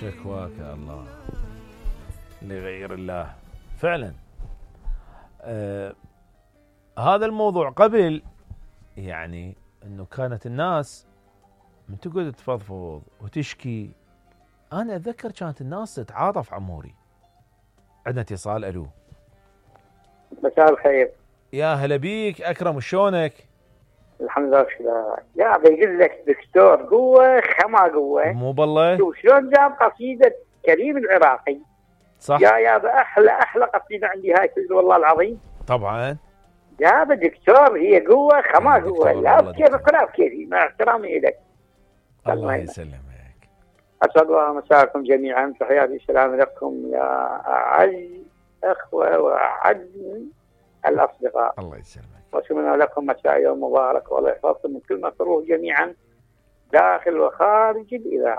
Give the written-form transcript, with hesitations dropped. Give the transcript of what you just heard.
شكواك يا الله لغير الله فعلا. هذا الموضوع قبل يعني انه كانت الناس من تقعد تفضفض وتشكي. انا اتذكر كانت الناس تتعاطف عموري. عندنا اتصال. الو. مساء الخير. يا هلا بيك اكرم، شلونك؟ الحمد لله بخير. يا بيقول لك دكتور قوه خما قوه. مو بالله. شوف شلون جاب قصيده كريم العراقي. صح. يا احلى قصيده عندي هاي والله العظيم. طبعا. يا دكتور هي قوه خما قوه، لا بكيفك ولا بكيفي، مع احترامي لك. الله يسلمك. اسعد الله مساءكم جميعا، تحياتي السلام لكم يا اعز اخوه واعز الاصدقاء. الله يسلمك. واتمنى لكم مساء يوم مبارك، والله يحفظكم من كل مكروه جميعا داخل وخارج الاذاعه.